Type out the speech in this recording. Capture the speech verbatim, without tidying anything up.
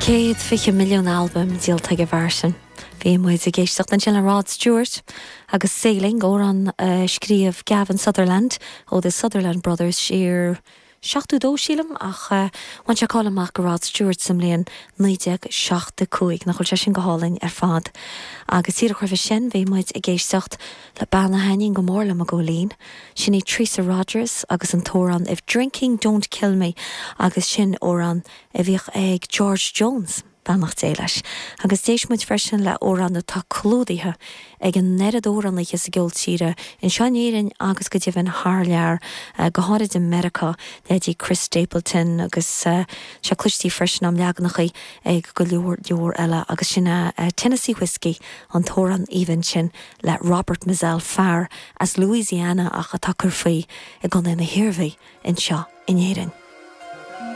Céad fiche milliún albam díolta ag an bhfear sin. Bhí muid ag éisteacht ansin le Rod Stewart agus Sailing amhrán uh, scríobh Gavin Sutherland ó the Sutherland Brothers siar seachtó dó sílim ach uh, bhain sé cáil amach go Rod Stewart sa mbliain naoi déag seachtó cúig nach bhfuil sé sin go hálainn ar fad. Agus díreach roimhe sin bhí muid ag éisteacht le bean a thaitníonn go mór liom a Góilín, sin í Teresa Rogers agus an t-amhrán If Drinking Don't Kill Me agus sin amhrán a bhíodh ag George Jones. Beannacht Dé leis. Agus d'éist muid freisin le amhrán atá clúdaithe ag an oiread amhránaithe sa gceol tíre anseo in Éirinn agus go deimhin thar lear uh, go háirithe i Meiriceá leithéidí Chris Stapleton agus uh, sé cloiste freisin am leaganacha ag go leor leor eile agus sin uh, Tennessee Whiskey an t-amhrán aoibhinn sin le Robert Mizzell fear as Louisiana ach atá ag cur faoi i gContae na hIarmhí anseo in Éirinn.